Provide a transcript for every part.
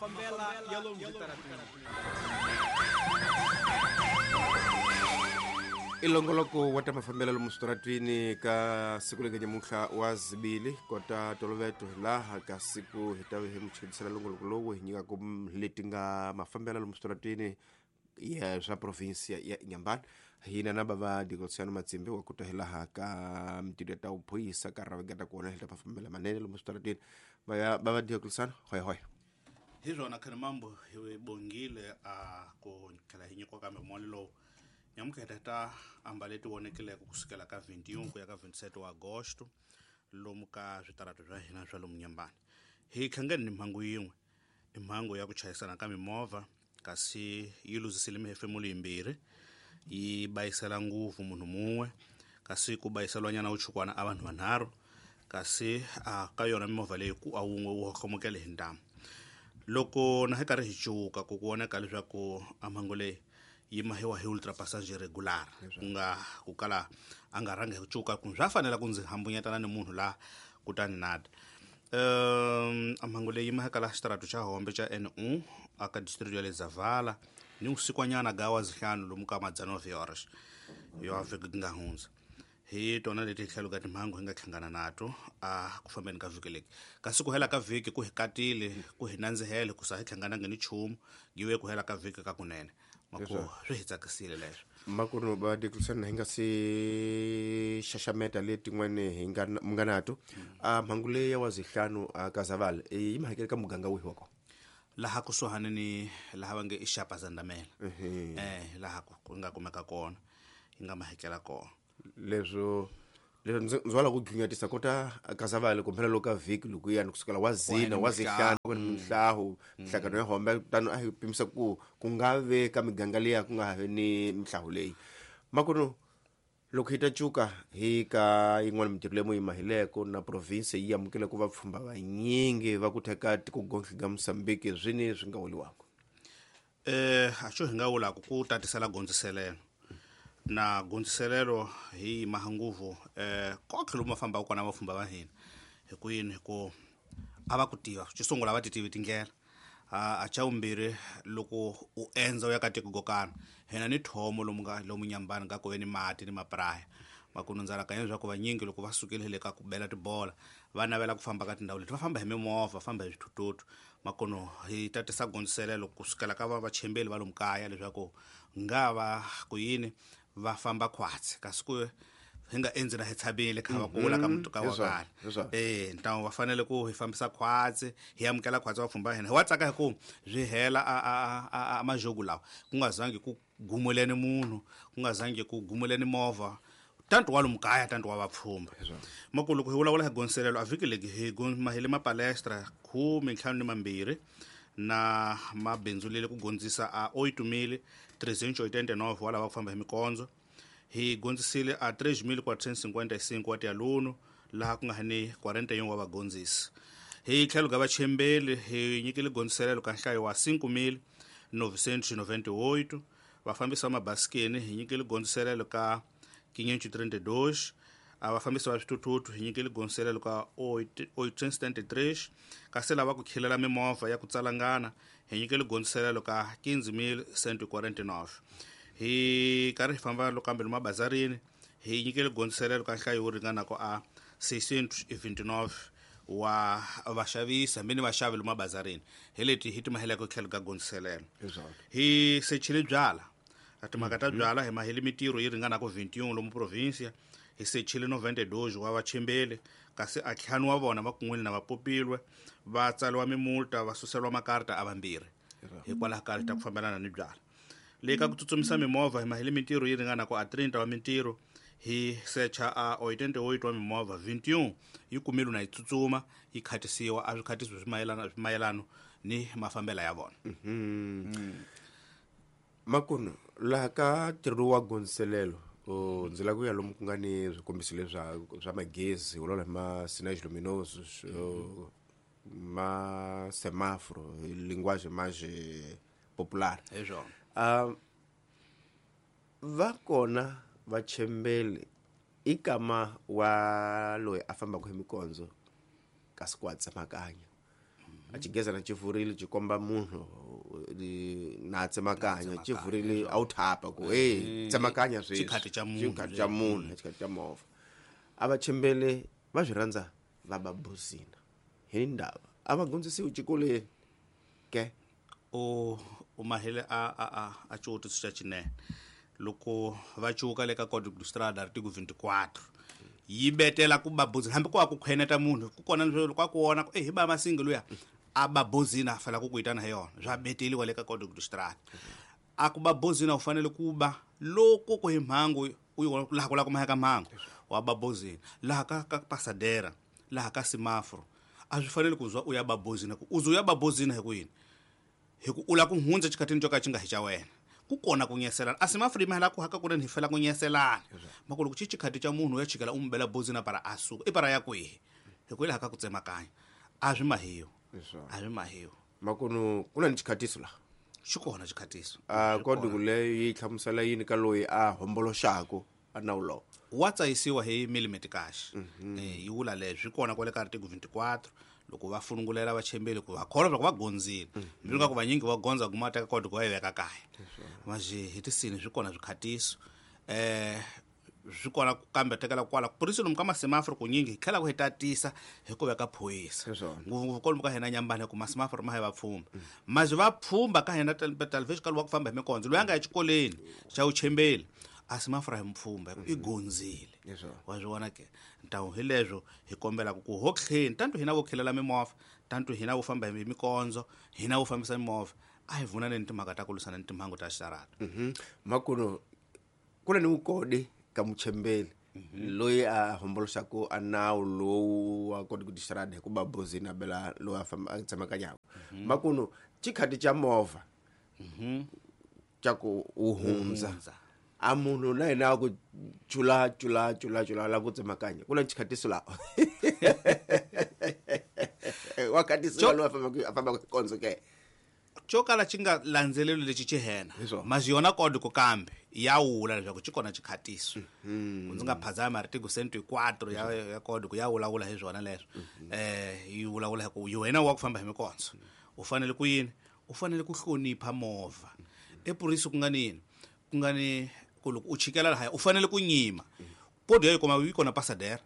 Mafambela ya lomu switarateni. Ilongoloko wa ta mafambelo lomu switaratwini ka siku leri nyamuntlha wa zibili kota toloveto laha ka siku hi ta hi mi chudisela longoloko lowu hi nyikaka leti nga mafambelo lomu switaratwini ya swa provinsia ya Inhambane. Hina na bava Diocleciano Matsimbi wa kuta hi laha ka mitirho ya ta vuphorisa ka ravengeta kona hi ta mafambelo manene lomu switaratwini. Bava Diocleciano, hoy hoy. Hi swona Khanimambo, hi bongile a ku tlhela hi nyikiwa kambe moli lowu. Nyamukheta ta amba leti vonekileke kusukela ka 21 ku ya ka 27 wa Agosto lomu ka switarato swa hina swa lomu Nyambani. Hi hlangene ni mhangu yin'we, i mhangu ya ku chayisana ka mimovha, kasi yi luzisile mihefemulo yimbirhi, yi bayisela nguvu munhu mun'we, kasi ku bayiselwanyana wuchukwana a vanhu vanharhu, kasi a ka yona mimovha leyi ku a wun'we wu hohlomokele hi ntamu. Loko na hi karhi hi cuka ku voneka leswaku a mhangu leyi yi mahiwa hi ultrapassager regular, ku nga ku kala a nga rhangi hi ku cuka, ku swa fanela ku ndzi hambunyetana ni munhu la kutani nada. A mhangu leyi yi maheka la xitarato xa Hombe xa N1 aka district ya le Zavala ni vusikwanyana ga wa zihlanu lomu ka madzana wa horas yo vhiki ku nga hundza. Hi tona leti hi tlhelo ka timhangu hi nga hlangana nato a ku fambeni ka vhiki leki. Kasi ku hela ka vhiki ku hi katile, ku hi nandzihele, ku sa hi hlanganangi ni nchumu, yiwe ku hela ka vhiki ka kunene. Mako swi hi tsakisile leswo. Makuno ba Diocleciano, hi nga si xaxameta letin'wani hi nga mi nga nato. A mhangu leyi ya wa zihlanu a ka Zavala yi mahakele ka muganga wihi wa kona? Laha kusuhani ni laha va nge i Xapa Zandamela. Laha ku nga kumeka kona, yi nga mahakela kona. Leswo ndzi wala ku dlunyatisa kota ka Zavala kumbe loko ka vhiki loko yani kusukela wa zina wa zihlanu ku ni mihlahu mihlangano ya Hombe, tano a hi pimisa ku ku nga ve ka miganga liya ku nga ha vi ni mihlahu leyi. Makuno loko hi ta cuka hi ka yin'wana mitirho leyi mu yi mahileko na province yi amukele ku vapfhumba vanyingi va ku theka tiko gontlhe ga Mozambique, swini swi nga vuriwaka? A xo hi nga vulaka ku tatisela gondziselelo. Na gondziselelo hi yima nguvu kotlhe lomu va fambaka kona vapfhumba va hina. Hi ku yini? Hi ku a va ku tiva, xo sungula a va ti tivi tindlela. A xa vumbirhi loko u endza u ya ka tiko go karhi, hina ni thomo lomu nga lomu Nyambani nga ku ve ni mati ni mapraya. Makuno ndza rakanya leswaku vanyingi loko va sukile le ka ku bela tibola va navela ku famba ka tindhawu leti, va famba hi mimovha, va famba hi swithuthuthu. Makuno hi tatisa gondziselelo kusukela ka vachembeli va lomu kaya leswaku nga va ku yini va famba khwatsi, kasi ku hi nga endzi na hi tshamile kha va kula ka mutuka wa kala. Ntamu va fanele ku hi fambisa khwatsi, hi amukela khwatsi vapfhumba hina. Hi wa tsaka hi ku swi hela a majogu lawa, ku nga zangi ku gumuleni munhu, ku nga zangi ku gumuleni movha, tanto wa lomu kaya tanto wa vapfhumba. Makulu loko hi vulavula hi gondziselelo a vhiki legi hi mahile mapalestra khume ntlhanu ni mambirhi na mabindzu lele ku gondzisa a 8.389 wa lava ku famba hi mikondzo. Hi gondzisile a 3.455 wa tialuno laha ku nga ni 41 wa vagondzisi. Hi tlhelo ka vachembeli hi nyikile gondziselelo ka nhlayo wa 5.998, vafambisi va mabasikeni hi nyikile gondziselelo ka 532, a vafambisi va swithuthuthu hi nyikile gondziselelo ka 873, kasi lava ku khilela mimovha ya ku tsalangana hi nyikile gondziselelo ka 15.149. Hi karhi hi famba lokambe lomu mabazarini hi nyikile gondziselelo ka nhlayo wo ringanaka a 629 wa vaxavisi hambi ni vaxavi lomu mabazarini. Hi leti hi timaheleke tlhelo ka gondziselelo. Hi sechile byala, timhaka ta byala hi mahele mitirho yi ringanaka 21 lomu provinsia. Hi sechile 92 wa vachembeli, kasi a ntlhanu wa vona va kun'wini na va popilwe, va tsariwa mimulta, va suseriwa makarta a vambirhi hikwalaho ka ta ku fambelana ni byala. Le ka ku tsutsumisa mimovha hi mahele mitirho yi ringanaka a 30 wa mitirho, hi secha a 88 wa mimovha, 21 yi kumile na yi tsutsuma yi khatisiwa, a swi khatisiwi swi mayelano ni mafambela ya vona. Makuno laha ka ntirho wa gondziselelo, ndzi lava ku ya lomu ku nga ni swikombiso leswi swa magezi, vulavula hi ma sinais luminosos, ma semaforo, hi linguagem mais popular. Hi swona. Va kona vachembeli i kama wa loyi a fambaka hi mikondzo kasi ku wa tsemakanya. A xigezana xi vurile xi komba munhu na tsemakanya xi vurile a wu thapa ku hey tsemakanya sweswi Xikhati xa munhu. Xikhati xa munhu, xikhati xa movha. A va chembele va swi rhandza va ba bozina hi ndava a va gondzisiwi xikolweni ke U mahele a xivutiso xa xinene loko va cuka le ka Código de Estrada artigo 24 yi betela ku ba bozina hambi ku a ku khweneta munhu ku kona leswi loko a ku vona ku hi ba masingi luya a ba bozina a fanele ku ku itana hi yona swa beteliwa le ka Código de Estrada a ku ba bozina u fanele ku ba loko ku hi mhangu u yi vona laha ku la ku maheka mhangu wa ba bozina laha ka pasadera laha ka semaforo a swi fanele ku zwa u ya ba bozina ku u zu ya ba bozina hi ku yini hi ku u la ku hundza xikhatini xo ka xi nga hi xa wena ku kona ku nyeselana a semaforo yi mahela ku haka kunene hi fela ku nyeselana mako loko xi xikhati xa munhu u ya chikela u n'wi bela bozina para a suka i para ya kwihi hi ku hi laha ka ku tsemakanya a swi mahiwa a swi mahiwa makunu ku na ni xikhatiso laha xi kona xikhatiso a kodi ku leyo yi hlamusela yini ka loyi a homboloxaku a nawu lowu wa tsayisiwa hi millimeter cash yi vula leswi kona kwale ka article 24 loko va funungulela vachembeli ku va kholwa loko va gondzile mbilu nga ku vanyingi va gondza kuma teka kodi ku va yi veka kaya manje hi tisini swi kona swikhatiso swi kona kambe tekela kwala purisi lomu ka masemaforo kunyingi hi tlhela ku hi tatisa hi ku veka phorisa ngopfungopfu kwalomu ka hina nyambani ku masemaforo ma hi va pfhumba manje va pfhumba ka hina talvexi ka lowa ku famba hi mikondzo loyi a nga ya xikolweni xa vuchembeli a semaforo hi mpfhumba i gondzile wa swi vona ke ntawu hi leswo hi kombelaka ku ho tlheni tanto hina vo khelela mimovha tanto hina vo famba hi mikondzo hina vo fambisa mimovha a hi vunaneni timhaka ta ku lwisana ni timhangu ta xitarata makuno ku na ni vukodi ka muchembeli loyi a homboloxaku a nawu lowu wa koti ku tixarada hi ku ba bozini a bela loyi a famba a tsemakanyaka makuno xikhati xa movha xa ku u hundza a munhu na yena a ku chula chula chula chula la ku tsemakanya ku na xikhatiso laha wa khatisiwa loyi a fambaka hi kondzo ke xo kala xi nga landzeleli lexi xi hena masi yona kodi ku kambe ya wula leswaku xi kona xikhatiso ku ndzi nga phazami article 104 ya kodi ku ya vulavula hi swona leswo yi vulavula hi ku wena wa ku famba hi mikondzo u fanele ku yini u fanele ku hlonipha movha epurisi ku nga ni yini ku nga ni ku loko u chikela lahaya u fanele ku nyima podi ya yi kuma yi kona pasadera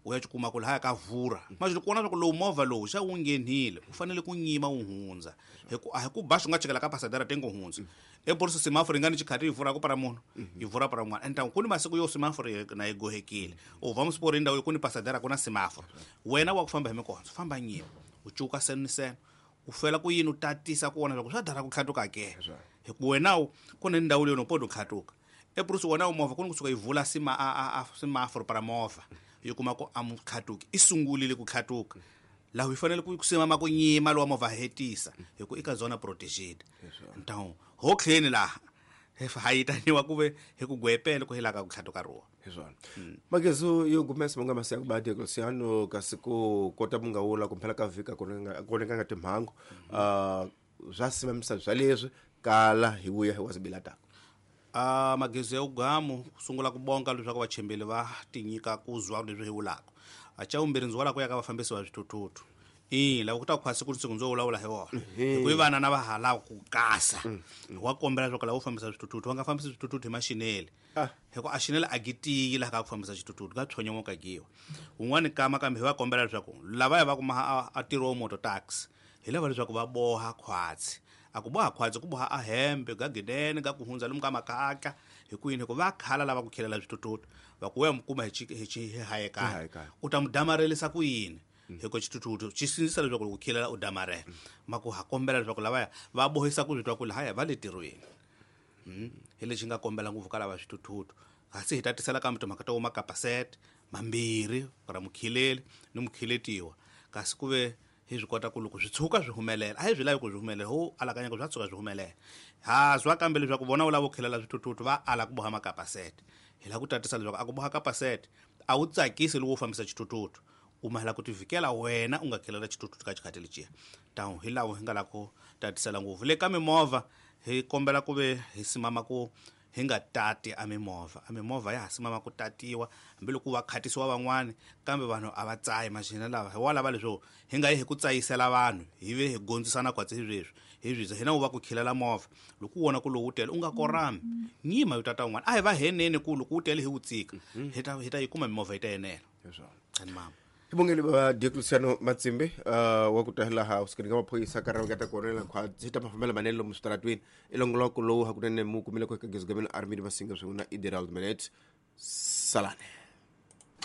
u ya kuma ku lahaya ka vura manje loko vona swa ku lowu movha lowu xa wu nghenile u fanele ku nyima wu hundza hi ku a hi ku ba swi nga chikela ka pasadera tengo hundza eporisi semaforo yi nga ni xikhati yi vura ku para munhu yi vura para un'wana ende ku ni masiku yo semaforo na yi gohekile u va musipori ndhawu ku ni pasadera ku na semaforo wena wa ku famba hi mikondzo famba nyima u cuka seno ni seno u fela ku yini u tatisa ku vona loko swa dara ku tlhatuka ke hi ku wena ku ni ndhawu leyi no podi u tlhatuka epurisi wona movha ku ni kusuka yi vula semaforo para movha yi kuma ku a mu tlhatuki i sungulile ku tlhatuka laha yi fanele ku simama ku nyima lowa movha hetisa hi ku i ka zona protégée ntawu ho tlheni laha ha yitaniwa ku ve hi ku gwepele ku helaka ku tlhatuka ruwa hi swona magezu yo gumesa munga masiya ku badi Luciano kasi ku kota munga wula kumphela ka vhika ku nga nga timhangu swa simamisa swa leswi kala hi vuya hi wazibilataka magezu ya ugamu sungula ku bonga leswaku vachembeli va tinyika ku zwa leswi hi vulaka a xa vumbirhi ndzi wala ku ya ka vafambisi va swithuthuthu lava ku ta khwasi ku siku ndzo vulavula hi vona hi ku i vana na va ha lava ku kasa wa kombela leswaku lava u fambisa swithuthuthu va nga fambisi swithuthuthu hi maxinele hi ku a xinele a gi tiyi laha ka ku fambisa xithuthuthu ka tshonyomoka giwa un'wani kama kambe hi va kombela leswaku lavaya va kuma a ntirho wa moto taxi hi lava leswaku va boha khwatsi a ku boha khwatsi ku boha a hembe ga gidene ga ku hundza lomu ka makaka hi ku yini hi ku va khala lava ku khelela swithuthuthu va ku ya mu kuma hi hayekani u ta mu damarelisa ku yini hi ku xithuthuthu xi sindzisa leswaku loko u khelela u damarela ma ku ha kombela leswaku lavaya va bohisa ku swi twa ku lahaya va le tirhweni hi lexi nga kombela ngopfu ka lava swithuthuthu kasi hi tatisela kambe timhaka ta wo makapasete mambirhi ra mukheleli ni mukheletiwa kasi ku ve hi swi kota ku loko swi tshuka swi humelela a hi swi lavi ku swi humelela ho alakanya ku swa tshuka swi humelela ha zwa kambe leswaku vona u lava ku khelela swithuthuthu va ala ku boha makapasete hi lava ku tatisa leswaku a ku boha kapasete a wu tsakisi loko u fambisa xithuthuthu u mahela ku tivikela wena u nga khelela xithuthuthu ka xikhati lexiya tawu hi lawo hi nga lava ku tatisela ngopfu le ka mimovha hi kombela ku ve hi simama ku Hi nga tati a mimovha, a mimovha ya ha simama ku tatiwa hambiloko va khatisiwa van'wani, kambe vanhu a va tsayi maxina lava hi wa lava leswo hi nga yi hi ku tsayisela vanhu, hi ve hi gondzisana kwatsi hi sweswi hi swisa hina wu va ku khilela movha. Loko u vona ku lowu tele u nga korami, nyima yo tata un'wana, a hi va heneni ku loko wu tele hi wu tsika, hi ta yi kuma mimovha yi ta enela. Hi swona. Ani mama. Xivongelo va Diocleciano Matsimbi, wa ku ta laha kusukeni ka maphorisa ka raveketa kona khwatsi ta mafambelo manene lomu switaratwini i longoloko lowu hakunene mu kumile ku eka Gezugameni Armidi Masinga swin'we na Iderald Menet. Salane.